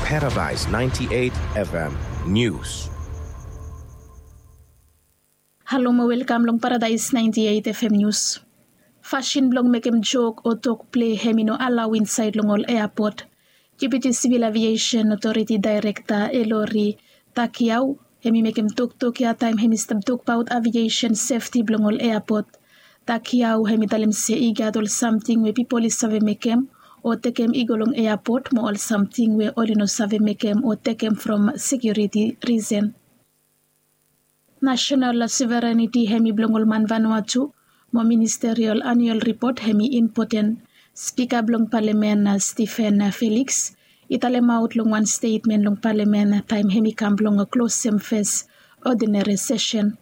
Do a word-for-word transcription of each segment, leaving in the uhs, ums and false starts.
Paradise ninety-eight F M News. Halo mo welkam long Paradise ninety-eight F M News. Fasin blong mekem jok o tok plei hem i no alao insaed long ol eapot. Deputi Sivil Aviesen Otoriti Daerekta Elori Takiau hem i mekem toktok ya taem hem i stap tokbaot aviesen sefti blong ol eapot. Takiau hem i talem se i gat ol samting we pipol i save mekem o tekem i go long eapot mo ol samting we oli no save mekem o tekem from sekiuriti risen. Nasenal sovereniti hem i blong ol man Vanuatu mo ministerial anial ripot hem i impoten. Spika blong palamen Stephen Felix i talemaot long wan stetmen long palamen taem hem i kam blong klosem fes odineri sesen.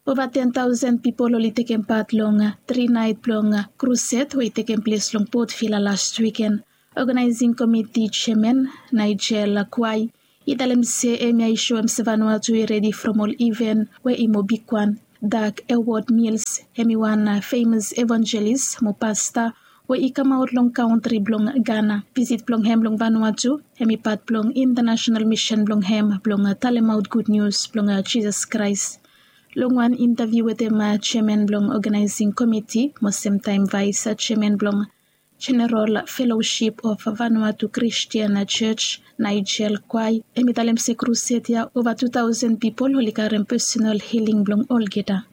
Ova ten taosen pipol oli tekem pat long tri naet blong krused we i tekem ples long Port Vila las wiken. Oganaesing komiti jeaman Nigel Kwai i talem se hemia i soem se Vanuatu i redi from ol iven we i mo bigwan. Dak Ewod Mils hem i wan femas evanjelis mo pasta we i kamaot long kantri blong Gana. Visit blong hem long Vanuatu hem i pat blong intanasenal misen blong hem blong talemaot gud nius blong Jisas Kraes. Long wan intaviu wetem jeaman blong oganaesing komiti mo semtaem vaes jeaman blong Jeneral Felosip of Vanuatu Kristian Jos Nigel Kwai hem i talem se krused ya ova tu taosen pipol oli karem pesenal hiling blong olgeta.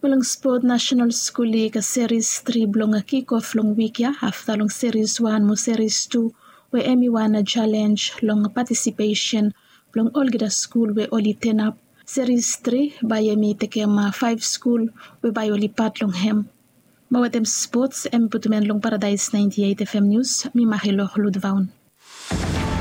Mo long spot, nasenal skul lig seris tri blong kikof long wik ya afta long seris wan mo seris tu we hem i wan jalenj long patisipesen blong olgeta skul we oli tenap. Seris tri bae hem i tekem faef skul we bae oli pat long hem. Mo wetem spots hem i putum en long Paradaes naenti eit F M nius, mi Mahelo Ludvaon.